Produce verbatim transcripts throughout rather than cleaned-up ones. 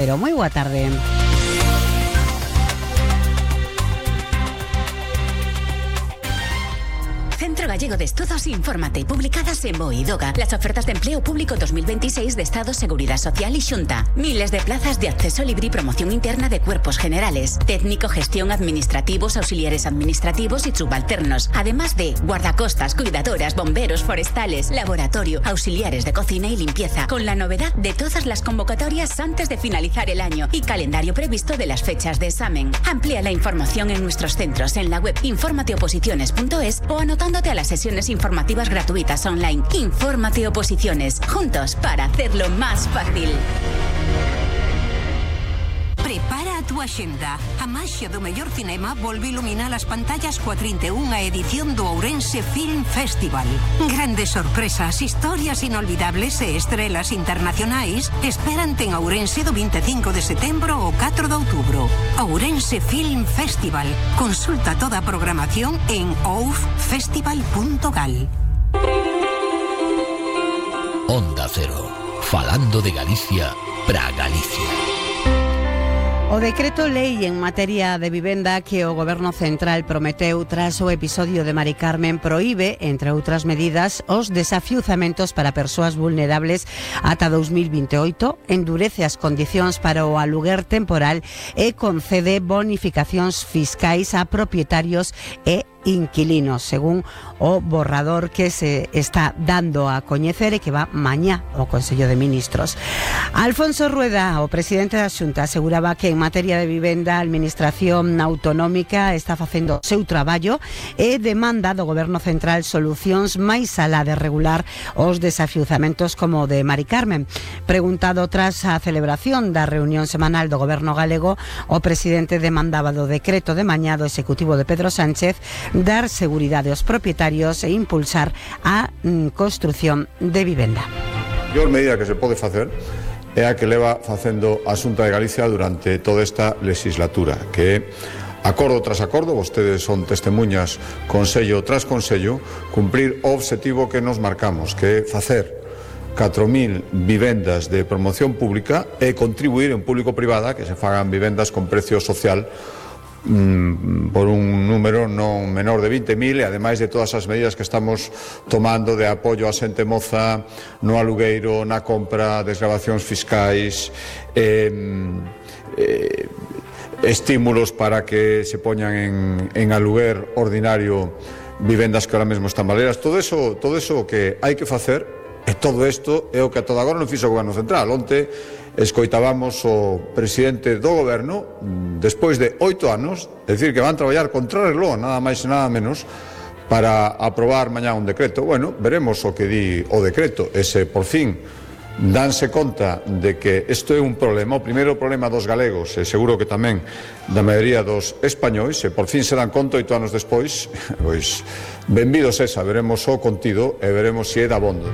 Pero moi boa tarde. Centro Gallego de Estudos, infórmate, publicadas en BOE y DOGA. Las ofertas de empleo público dos mil veintiséis de Estado, Seguridad Social y Xunta. Miles de plazas de acceso libre y promoción interna de cuerpos generales. Técnico, gestión, administrativos, auxiliares administrativos y subalternos. Además de guardacostas, cuidadoras, bomberos, forestales, laboratorio, auxiliares de cocina y limpieza. Con la novedad de todas las convocatorias antes de finalizar el año y calendario previsto de las fechas de examen. Amplía la información en nuestros centros en la web informateoposiciones punto es o anotando a las sesiones informativas gratuitas online. Infórmate Oposiciones, juntos para hacerlo más fácil. Prepara a túa xenda. A maxia do mellor cinema volve iluminar as pantallas coa trinta e unha edición do Ourense Film Festival. Grandes sorpresas, historias inolvidables e estrelas internacionais esperante en Ourense do vinte e cinco de setembro ao catro de outubro. Ourense Film Festival. Consulta toda a programación en ouf festival punto gal. Onda Cero, falando de Galicia pra Galicia. O decreto lei en materia de vivenda que o Goberno Central prometeu tras o episodio de Mari Carmen proíbe, entre outras medidas, os desafiuzamentos para persoas vulnerables ata dous mil vinte e oito, endurece as condicións para o aluguer temporal e concede bonificacións fiscais a propietarios e inquilinos, según o borrador que se está dando a coñecer e que va mañá ao Consello de Ministros. Alfonso Rueda, o presidente da Xunta, aseguraba que en materia de vivenda a Administración Autonómica está facendo o seu traballo e demanda do Goberno Central solucións máis alá de regular os desafiuzamentos como o de Mari Carmen. Preguntado tras a celebración da reunión semanal do Goberno galego, o presidente demandaba do decreto de mañá do Executivo de Pedro Sánchez dar seguridade aos propietarios e impulsar a mm, construción de vivenda. A mellor medida que se pode facer é a que leva facendo a Xunta de Galicia durante toda esta legislatura, que acordo tras acordo, vostedes son testemunhas, consello tras consello, cumprir o obxectivo que nos marcamos, que é facer catro mil vivendas de promoción pública e contribuir en público-privada que se fagan vivendas con precio social por un número non menor de vinte mil e ademais de todas as medidas que estamos tomando de apoio a xente moza no alugueiro, na compra, desgravacións fiscais, eh, eh, estímulos para que se poñan en, en aluguer ordinario vivendas que ahora mesmo están baleras. Todo eso, todo eso que hai que facer, e todo isto é o que a todo agora non fixo o Goberno Central. Onte escoitábamos o presidente do Goberno, despois de oito anos, decir que van traballar contra reloj, nada máis e nada menos, para aprobar mañá un decreto. Bueno, veremos o que di o decreto, e se por fin danse conta de que isto é un problema, o primeiro problema dos galegos, e seguro que tamén da maioría dos españois, e por fin se dan conta oito anos despois, pois benvidos esa, veremos o contido e veremos se é dabondo.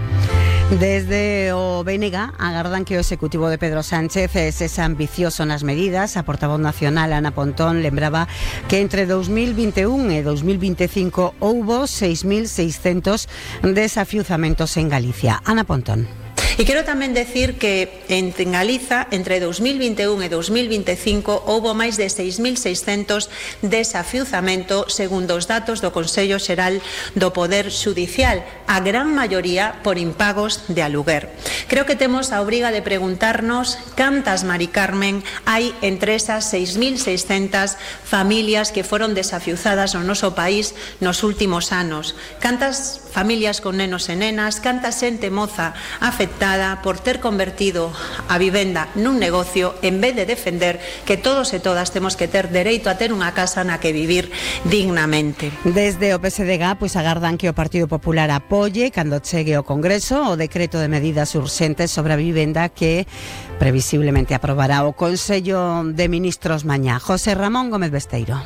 Desde o B N G agardan que o Executivo de Pedro Sánchez es ambicioso nas medidas. A portavoz nacional Ana Pontón lembraba que entre dous mil vinte e un e dous mil vinte e cinco houbo seis mil seiscentos desafiuzamentos en Galicia. Ana Pontón. E quero tamén decir que en Galiza, entre dous mil vinte e un e dous mil vinte e cinco, houbo máis de seis mil seiscentos desafiuzamentos, segundo os datos do Consello Xeral do Poder Xudicial, a gran maioría por impagos de aluguer. Creo que temos a obriga de preguntarnos cantas Mari Carmen hai entre esas seis mil seiscentas familias que foron desafiuzadas no noso país nos últimos anos. Cantas familias con nenos e nenas, canta xente moza afectada por ter convertido a vivenda nun negocio en vez de defender que todos e todas temos que ter dereito a ter unha casa na que vivir dignamente. Desde o P S D G pois agardan que o Partido Popular apoie cando chegue ao Congreso o decreto de medidas urxentes sobre a vivenda que previsiblemente aprobará o Consello de Ministros mañá. José Ramón Gómez Besteiro.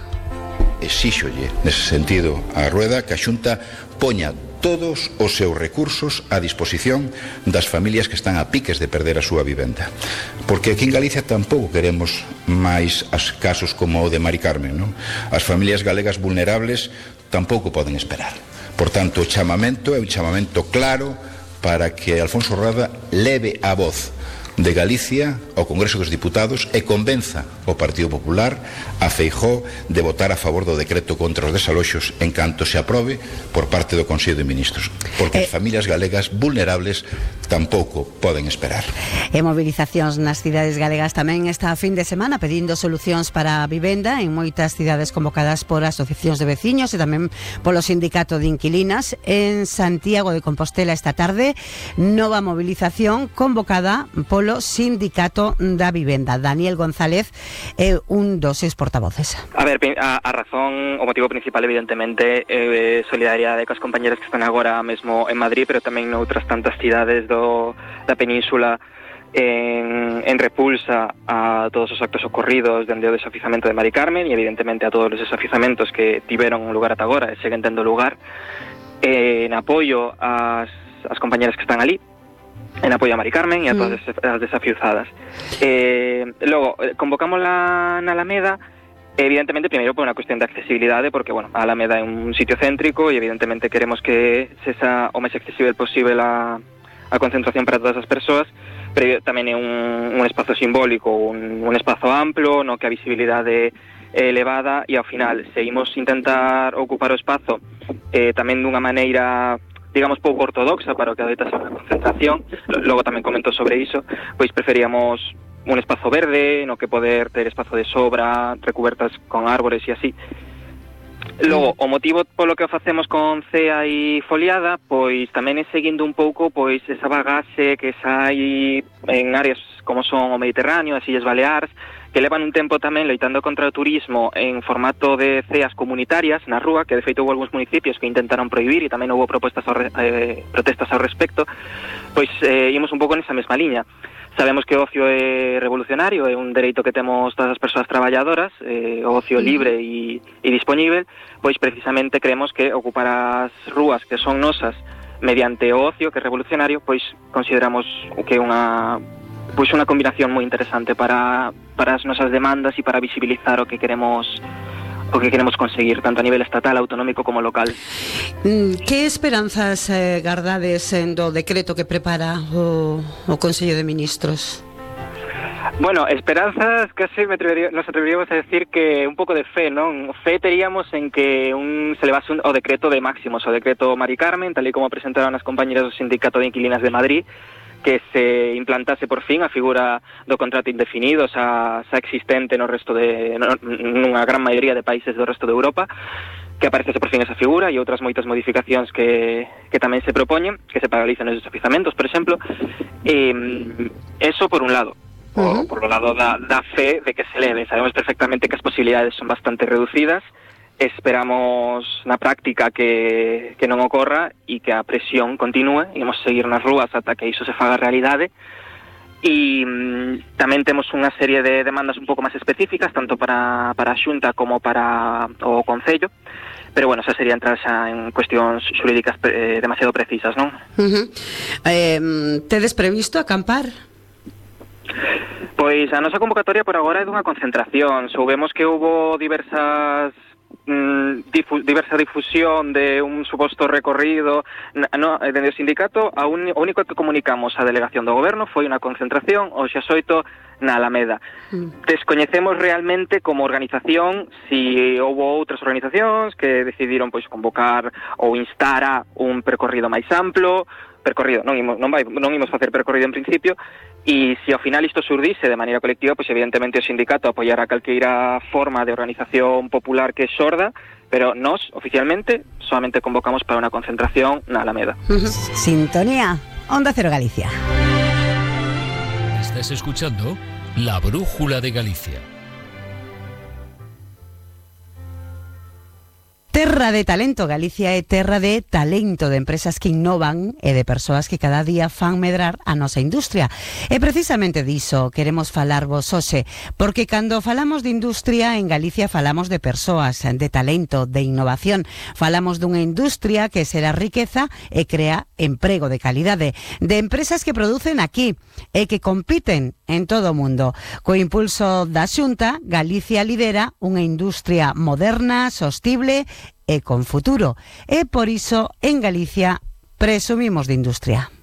Exíxolle, nese sentido, a Rueda que a Xunta poña todos os seus recursos a disposición das familias que están a piques de perder a súa vivenda. Porque aquí en Galicia tampouco queremos máis as casos como o de Mari Carmen, non? As familias galegas vulnerables tampouco poden esperar. Por tanto, o chamamento é un chamamento claro para que Alfonso Rueda leve a voz de Galicia ao Congreso dos Diputados e convenza o Partido Popular a Feijóo de votar a favor do decreto contra os desaloxos en canto se aprobe por parte do Consello de Ministros, porque eh, as familias galegas vulnerables tampouco poden esperar. E movilizacións nas cidades galegas tamén esta fin de semana pedindo solucións para a vivenda en moitas cidades convocadas por asociacións de veciños e tamén polo Sindicato de Inquilinas. En Santiago de Compostela esta tarde, nova movilización convocada polo Sindicato da Vivenda. Daniel González é un dos seus portavoces. A ver, a, a razón, o motivo principal evidentemente é eh, solidariedade cos compañeros que están agora mesmo en Madrid, pero tamén noutras tantas cidades do, da península en, en repulsa a todos os actos ocorridos dende o desafizamento de Mari Carmen e evidentemente a todos os desafizamentos que tiveron un lugar ata agora e seguen tendo lugar, eh, en apoio ás, ás compañeras que están ali, en apoio a Mari Carmen e a todas mm. as desafiuzadas. Eh, logo, convocamos la, na Alameda, evidentemente, primeiro por unha cuestión de accesibilidade, porque, bueno, a Alameda é un sitio céntrico e evidentemente queremos que se xa o máis accesible posible a, a concentración para todas as persoas, pero tamén é un, un espazo simbólico, un, un espazo amplo, no que a visibilidade é elevada e ao final, se imos intentar ocupar o espazo eh, tamén dunha maneira, digamos, pouco ortodoxa para o que adoita ser unha concentración, logo tamén comento sobre iso, pois preferíamos un espazo verde, no que poder ter espazo de sobra, recubertas con árbores e así. Logo, o motivo polo que o facemos con cea e foliada, pois tamén é seguindo un pouco pois esa bagaxe que sai en áreas como son o Mediterráneo, as Illas Baleares, que levan un tempo tamén loitando contra o turismo en formato de ceas comunitarias na rúa, que de feito houve algúns municipios que intentaron prohibir e tamén houve propostas ao re, eh, protestas ao respecto, pois eh, imos un pouco nesa mesma liña. Sabemos que o ocio é revolucionario, é un dereito que temos todas as persoas traballadoras, eh, o ocio libre e, e dispoñível, pois precisamente creemos que ocupar as rúas que son nosas mediante o ocio, que é revolucionario, pois consideramos que é unha pois unha combinación moi interesante para, para as nosas demandas e para visibilizar o que queremos o que queremos conseguir, tanto a nivel estatal, autonómico como local. Que esperanzas eh, gardades en do decreto que prepara o, o Consello de Ministros? Bueno, esperanzas casi me atrevería, nos atreveríamos a decir que un pouco de fe, non? Fe teríamos en que un, se levase un, o decreto de máximos, o decreto Mari Carmen, tal e como presentaron as compañeras do Sindicato de Inquilinas de Madrid, que se implantase por fin a figura do contrato indefinido xa, xa existente no resto de no, nunha gran maioría de países do resto de Europa, que aparecese por fin esa figura e outras moitas modificacións que, que tamén se propoñen, que se paralicen os desafizamentos, por exemplo. E, eso por un lado. Uh-huh. Por, por o lado da, da fe de que se leve. Sabemos perfectamente que as posibilidades son bastante reducidas. Esperamos na práctica que, que non ocorra e que a presión continúe. Imos seguir nas rúas ata que iso se faga realidade. E mm, tamén temos unha serie de demandas un pouco máis específicas, tanto para, para a Xunta como para o Concello. Pero, bueno, xa sería entrar xa en cuestións xurídicas eh, demasiado precisas, non? Uh-huh. eh, tedes previsto acampar? Pois a nosa convocatoria por agora é dunha concentración. Soubemos que houbo diversas Difu diversa difusión de un suposto recorrido no, dende o sindicato. A un, o único que comunicamos á delegación do goberno foi unha concentración o xa xoito na Alameda. Mm. Descoñecemos realmente como organización si houve outras organizacións que decidiron pois convocar ou instar a un percorrido máis amplo, percorrido, non imos, non vai, non imos facer percorrido en principio, e se ao final isto surdise de maneira colectiva, pois evidentemente o sindicato apoiará calqueira forma de organización popular que xorda, pero nós, oficialmente, solamente convocamos para unha concentración na Alameda. Sintonía, Onda Cero Galicia. Estás escuchando La Brújula de Galicia. Terra de talento, Galicia é terra de talento, de empresas que innovan e de persoas que cada día fan medrar a nosa industria. E precisamente diso queremos falarvos hoxe, porque cando falamos de industria en Galicia falamos de persoas, de talento, de innovación. Falamos dunha industria que será riqueza e crea emprego de calidade, de empresas que producen aquí e que compiten en todo o mundo. Co impulso da Xunta, Galicia lidera unha industria moderna, sostible e con futuro. E por iso en Galicia presumimos de industria.